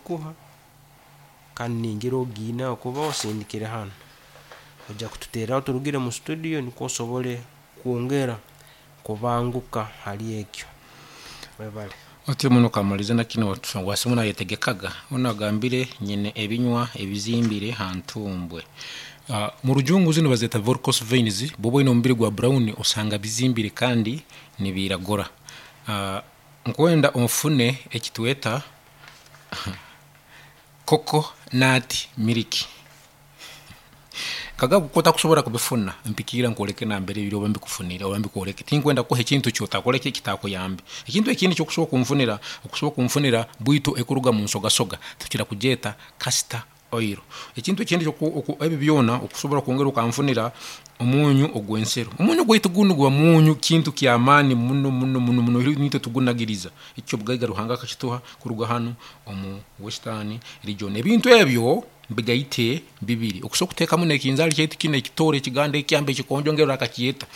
kugikuha kandi ningira ogiine ahakuba osindikire hanu. Oija kututeereraho turugire mu studio nikwo osobole kwongera kubanguka hali ekyo. Webale. Otyo muno okamaliza na kinu wasimu nayetegekaga onu agambire nyine ebinywa ebizimbire ha ntumbwe. Mu rujungu zinu bazeta voricose veins, bwoba oyine omubiri gwa brown osanga bizimbire kandi nibiragura. Nkwenda ofune ekitweta Coco nut milk. Kagabo kotakusobora kubifuna mpikiira nkwoleke nambere biri oba mbikufunire oba mbikwoleke. Tinkwenda kukuha ekintu ekyotakora ki ekitakuyambe. Ekintu ekindi ekyokusobora kunfunira, okusobora kunfunira bwito ekuruga munsogasoga tukira kugyeta castor oil. Ekintu ekindi ebi byona okusobora kwongera okanfunira omunyu ogwensero. Omunyu gwaitu gunu guba munyu kintu kyamaani muno muno muno muno nitwe tugunagiriza. Ekyobugaiga Ruhanga akakituha kuruga hanu omu Western region. Ebintu ebyo mbigaite bibiri, okusobora kutekamu nekinzaali kyaitu kinu ekitooro, ekiganda, ekyamba, ekikonjo ngeri orakakyeta.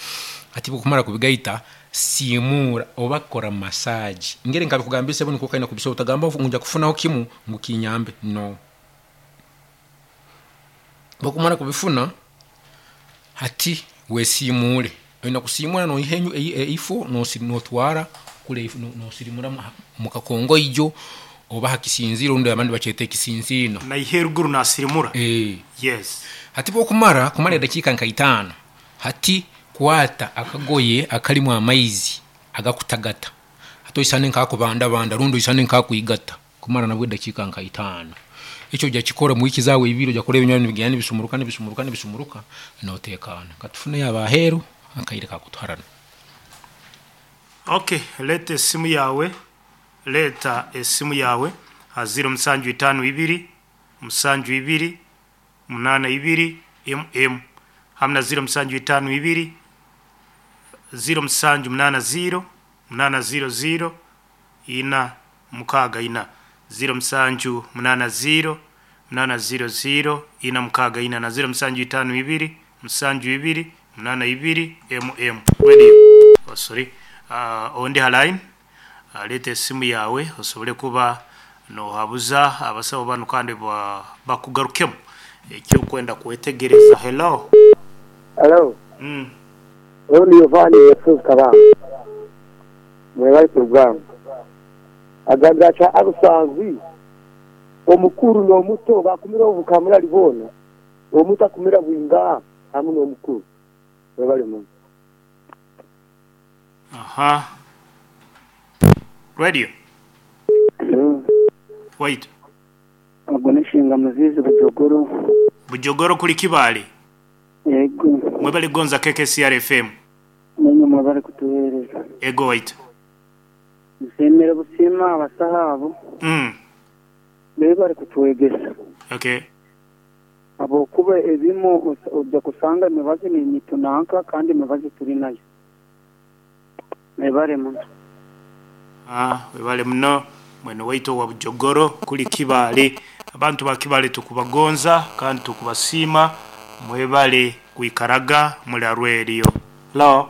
Hati bwokumara kubigaita, siimura oba kora massage. Ngeri nkabikugambire sebo nikwo okaine kubisobora, otagamba ngu ngya kufunaho kimu ngu kinyambe, no. Bwokumara kubifuna, hati wesiimuure. Oine kusiimura noiha eifo notwara kuri nosirimura omu kakongoijo oba aha kisinziro rundi abandi bakyeta ekisinsiino. Naiha eruguru nasirimura. Yes. Hati bwokumara kumara edakiika nka itaano, hati kwata akagoye akarimu amaizi agakutagata, hati oisane nk'akubandabanda rundi oisane nk'akwigata. Kumara nabwo edakiika nka itaano. Ekyo oja kikora omu wiiki zaawe ibiri, oja kureba ebinywa nibigenda nibisumuruka, nibisumuruka, nibisumuruka, noteekaana. Katufuneyo ab'aheeru, akaire kakutuharana. Ok, leeta esimu yaawe, leeta esimu yaawe aha ziiro musanju itaano ibiri, musanju ibiri, munaana ibiri, emu emu hamu na ziiro musanju itaano ibiri, ziiro musanju munaana ziiro, munaana ziiro ziiro, ina mukaaga ina, ziiro musanju munaana ziiro, munaana ziiro ziiro, ina mukaaga ina na ziiro musanju itaano ibiri, musanju ibiri, munaana ibiri, emu emu. Radio, oh sorry, ondi ha line, leeta esimu yaawe osobole kuba nohabuza abasawo banu kandi bakugarukemu eki orikwenda kwetegereza. Hello. Hello. Oyo ni Yovaani Yesu Kabamba. Mwebale kurugamba. Agambire ati, Abusanzi, omukuru n'omuto bakumira obu kamurali boona, omuto akumira bwingaha hamu n'omukuru. Mwebale muno. Aha. Radio. Waitu. Ogu n'eshinga Muziizi Bujogoro. Bujogoro kuri Kibaale. Yego. Mwebale kugonza KKCR FM. Naimwe mwebale kutuheereza. Ego waitu. Nsiimire busiima abasaho abo. Bebare kutwegesa. Okay. Habwokuba ebimwe oija kusanga emibazi nitunanka kandi emibazi turi nayo. Mwebare muno. Webale muno mwene waitu owa Bujogoro kuri Kibaale. Abantu ba Kibaale tukubagonza kandi tukubasiima mwebale kwikaraga muri ha Radio. Hello.